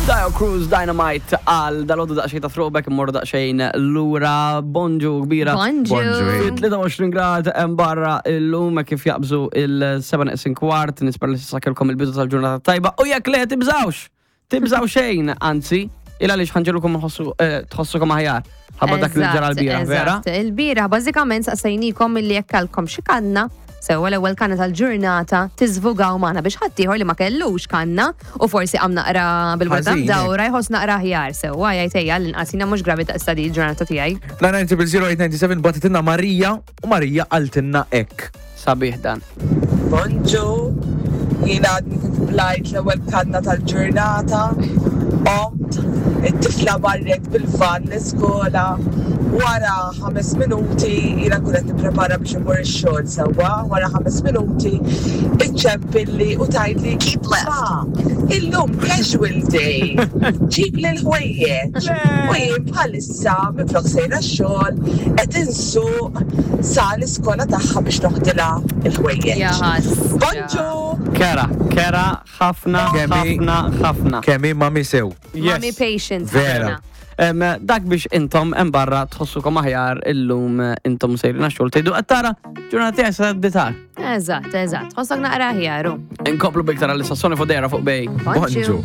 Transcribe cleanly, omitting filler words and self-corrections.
Dio Cruz Dynamite għal dal-għodu daqxej ta' throwback immorru daqxejn lura bonġu kbira. Bonġu. Fi 23 grad hemm barra illum hekk kif jaqbżu il-7 neqsin kwart nispera li s'issa kellkom il-bidu tal-ġurnata tajba u jekk le tibżawx! Tibżaw xejn, anzi, il għaliex ħanġelukom eh, tħossukom aħjar. Ħabba dak li ġara l-bira, vera? Il-bira, bażikament saqsejnikom illi jekk kellkom xi kanna, sewwa l-ewwel kanna tal-ġurnata tiżvugaw magħna biex ħaddieħor li ma kellux kanna u forsi qam naqra bil-weta mdawra jħoss naqra aħjar sewwa jgħid ejja l-inqas jiena mhux gravi daqs di l-ġurnata tiegħi. 990 batitilna Marija U Marija qaltilna hekk. Sabiħ dan. Bonġu, jien għadni kif blajt l-ewwel kanna tal-ġurnata, qomt, it-tifla marret bil-van l-iskola, wara ħames minuti jiena nkun qed nipprepara biex immur ix-xogħol sewwa, wara ħames minuti iċċempilli u tgħidli Keep left. Ma, illum casual day, ġibli l-ħwejjeġ. U jien bħalissa Issa minflok sejra x-xogħol qed insuq sa l-iskola tagħha biex noħdilha l-ħwejjeġ. Bonġu! Kera, kera ħafna, ħafna, ħafna. Kemm hi mami sew. Mami patient. Vera. Dak biex intom hemm barra tħossukom aħjar illum intom sejrin għax-xogħol tgħidu qed tara ġurnata tiegħi se tgħaddi Eżatt, eżatt. Tħossok naqra aħjar. Inkomplu biktar għal-sassoni fodera fuq bej. Bonġu.